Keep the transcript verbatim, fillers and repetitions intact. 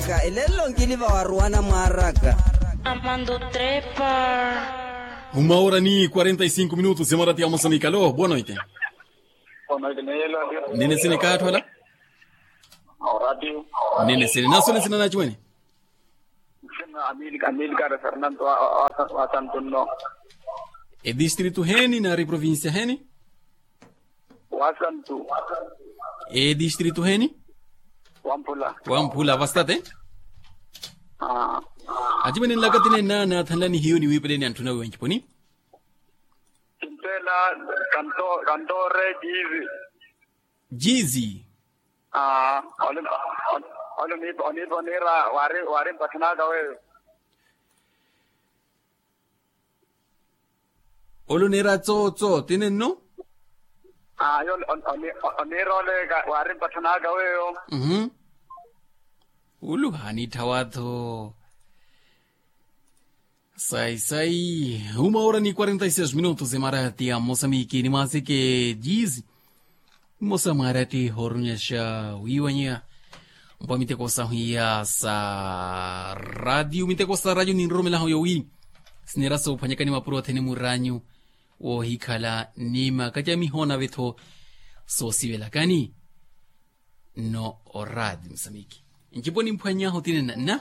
Ka elelo nkili vawaruwana mwaraka. Amando trepa. Uma hora ni quarenta e cinco minutos, emarati ya mosamika. Alo, boa noite. Nene sini kaatwala. Nene sini naso ni sina nachiwene. Amilcar fernando wa santunno. Edistritu heni nari provincia heni? Wasantu. Edistritu heni? Wamphula. Wamphula vastate. Achiwene nlakatine nana thanlani hiyo ni wipeleni anthu nawe wenchiponi. Kintela kantore jizi. Jizi. Aa. Ole onipa onipa onira wari wari mpathanaka weyo. Ole onira tsotso tinenno. Aa yo onira ole wari mpathanaka weyo. Ulu hanitthawa-tho. Sai sai uma hora ni quarenta e seis minutos emarati ya mosamiki ni mwaseke jizi. Mmosa mwarati hoorunyaxa wiiwanyeya mpwa miteko sahu iya sa radio miteko sa radio ninroromelaho yowi. Sinera soophwanyakani mapuro athene muranyu woohikhala ni makacamiho nave-tho soosivelakani. Nno orati musamiki ncipo nimphwany'ahu tinena nna.